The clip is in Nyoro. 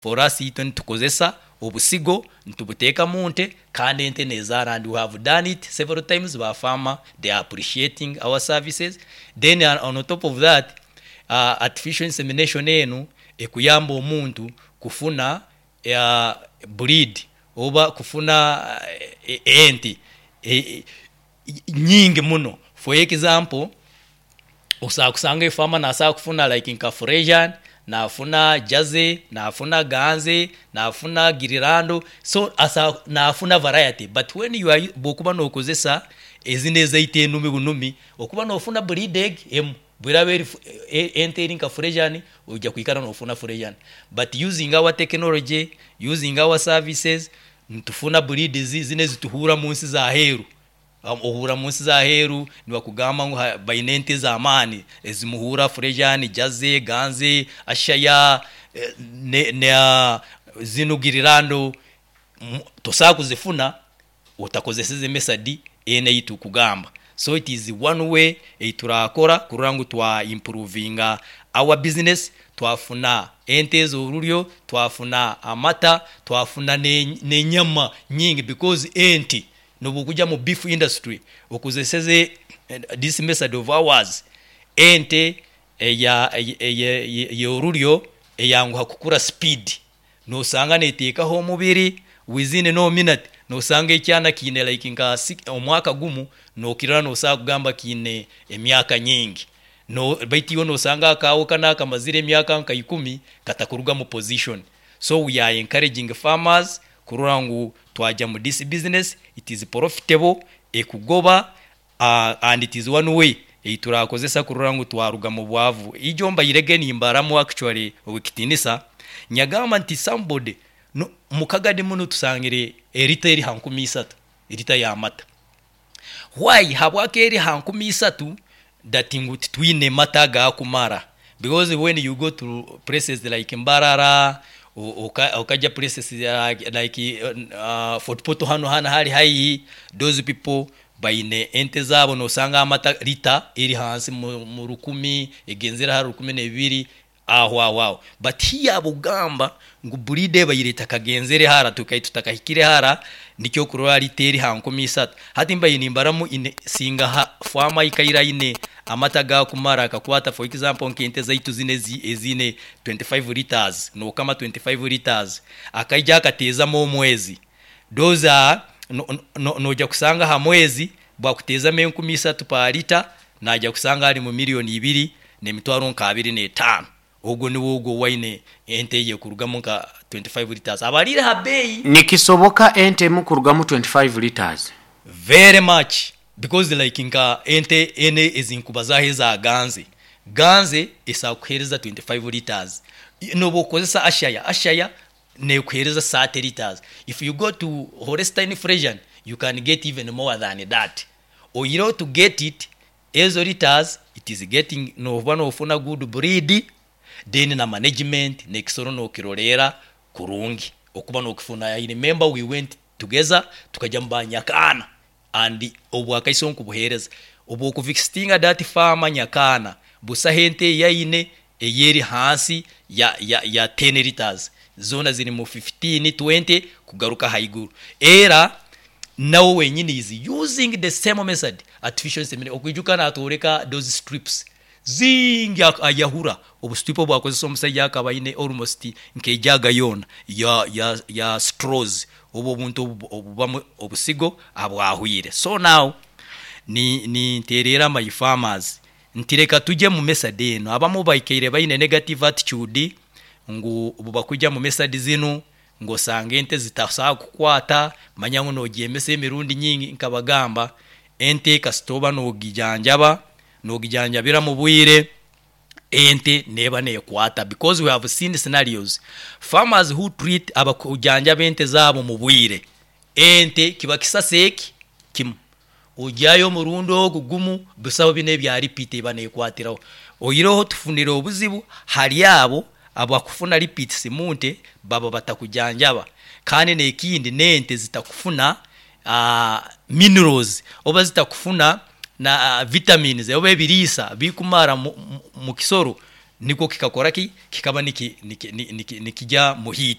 For us itwe nitukozesa obusigo nitubuteeka mu nte kandi ente nezaara and we have done it several times ba farmer they are appreciating our services. Then on top of that artificial insemination enu ekuyamba omuntu kufuna breed oba kufuna ente nyingi muno. For example, osobola kusanga efaama nasobola kufuna like nka Freshian, nafuna Jersey, nafuna Ganze, nafuna Girirando, so asobola nafuna variety but when you are obu okuba nokozesa ezinu ezaitu enumi bunumi, okuba nofuna breed egi emu, obu eraaba eri ente eri nka Freshian, oija kwikara nofuna Freshian but using our technology, using our services, nitufuna breeds zinu ezituhuurra munsi z'aheeru. Ohuurra munsi z'aheeru nibakugamba ngu baine ente ez'amaani ezimuhuurra Freshian, Jersey, Ganze, Ashaya, na zinu Girirando, tosobola kuzifuna otakozeseze method enu eyi tukugamba. So it is one way eyi turakora kurora ngu twa improvinga our business, twafuna ente ez'oruryo, twafuna amata, twafuna n'enyama nyingi because ente nobu okugya mu beef industry okozeseze this method of ours, ente ey'oruryo eyanguha kukura speed, nosanga neteekaho omubiri within no minute nosanga ekyana kiine like nka omwaka gumu nokirora nosobola kugamba kiine emyaka nyingi, baitu iwe nosanga akaawe kanu akamazire emyaka nka ikumi katakuruga mu position. So we are encouraging farmers kurora ngu twagya mu this business, it is profitable, ekugoba and it is one way ei turakozesa kurora ngu twaruga mu bwavu. Ijo mbairege nimbaramu actually owekitiinisa, nyagamba nti somebody no mu Kagadi munu tusangire erita eri ha 3000, erita y'amata. Why habwaki eri ha 3000 that ngu titwine mata agakumara? Because when you go to places like Mbarara, okajya places like Fort Portal hanu hanu hali haihi, those people baine ente zaabo nosanga amata lita eri hansi mu 1000, egenzere hara 1200 aho aho aho. But here bugamba ngu breed ebaire etakagenzere hara, tukaire tutakahikire hara, nikyo okurora lita eri ha 3000. Hati mbaire nimbaramu ine singa ha faama aikaire aine amata agakumara akakwata for example nk'ente zaitu zinu eziine 25 litres, nokama 25 litres, akaija akateezamu omwezi, those are noija kusanga ha mwezi bwakuteezamu 3000 per litre, naija kusanga ari mu milioni ibiri n'emitwaro nka abiri n'etaano. Ogwo niwe ogwo owaine ente eye ekurugamu nka 25 litres. Abariire ha beeyi. Nikisoboka ente emu kurugamu 25 litres? Very much because like nka ente enu ezinkubazaho eza Ganze, Ganze esobola kukuhereza 25 litres. Nobu okukozesa Ashaya, Ashaya nekuhereza 30 litres. If you go to Holstein Friesian, you can get even more than that. Oihireho to get it, ezo litres it is getting noba nofuna good breed then na management nekisoro nokiroreera kurungi okuba nokifuna. I remember we went together tukagya mu ba Nyakaana and obwakaiso nkubuhereza. Obu okuvisitinga that farm Nyakaana, busaho ente eyi aine eyeri hansi ya 10 litres, zoona ziri mu 15, 20 kugaruka haiguru. Era nawe wenyini is using the same method, artificial insemination. Okwijuka natworeka those strips zingi ayahura obu strip obu akozesa omusaija akaba aine almost nk'ejaga yoona ya straws obu obuntu obubamu obusigo abwahwire. So now ninteererra my farmers nti leka tugye mu method enu. Abamu baikaire baine negative attitude ngu obu bakugya mu method zinu ngu osanga ente zitasobola kukwata, manya ngu nogyemesa emirundi nyingi. Nkabagamba ente kasita oba nogijanjaba, nogijanjabira mu bwire, ente neeba nekwata because we have seen scenarios, farmers who treat abakujanjaba ente zaabo mu bwire, ente kiba kisasi eki kimu, ogyayo omurundi ogu gumu, busaho binu ebya repeat eba nekwatiraho. Oihireho tufunire obuzibu hali abo abakufuna repeats mu nte baba batakujanjaba. Kandi n'ekindi n'ente zitakufuna minerals oba zitakufuna na vitamins oba ebiriisa bikumara mu kisoro. Nikwo kikakora ki? Kikaba nikigya mu heat.